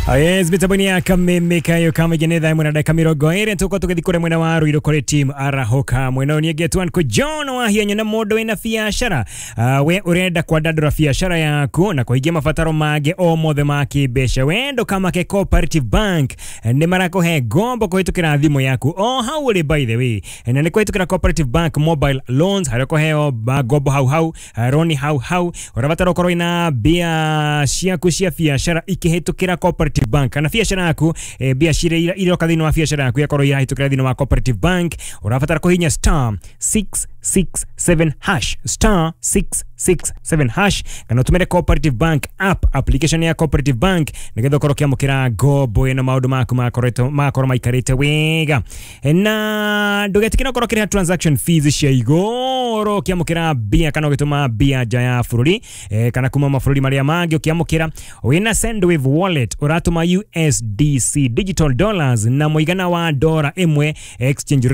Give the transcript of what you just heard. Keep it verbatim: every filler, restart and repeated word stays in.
Yes, mitambo ya kameme kayo kamegene thaa ĩmwe na ndagĩka mĩrongo ĩrĩ. Tũkorwo tũgĩthiĩ kũrĩa mwena wa Ruiru kũrĩ team Arahũka. Mwena ũyũ nĩngetwo Uncle John Wahianya na mũndũ wĩna biacara. uh, we ũrenda kwandandũra biacara yaku na kũhingia mabataro mangĩ o mothe ma kĩmbeca, we ndũkamake. Cooperative Bank nĩ marakũhe ngombo kũhĩtũkĩra thimũ yaku o hau ũrĩ. By the way, na nĩ kũhĩtũkĩra Cooperative Bank mobile loans, harĩa ũkũheo ngombo hau hau, roni hau hau. Ũrabatara ũkorwo wĩna mbia ciaku cia biacara ikĩhĩtũkĩra Cooperative Bank, kana biacara yaku, eh, mbia ciria iroka thĩinĩ wa biacara yaku yakorwo irahĩtũkĩra thĩinĩ wa Cooperative Bank. Ũrabatara kũhihinya star six six seven hash, star six six seven hash, kana ũtũmĩre Cooperative Bank app, application ya Cooperative Bank, nĩgetha ũkorwo ũkĩamũkĩra ngombo ĩno, maũndũ maku makoretwo makorwo maikarĩte wega. Na ndũgetĩkĩre ũkorwo ũkĩrĩha transaction fees cia igũrũ ũkĩamũkĩra mbia kana ũgĩtũma mbia nja ya bũrũri, eh, kana kuma mabũrũri marĩa mangĩ. Ũkĩamũkĩra wĩna Sendwave wallet, ũratũma U S D C digital dollars na mũigana wa dora ĩmwe exchange.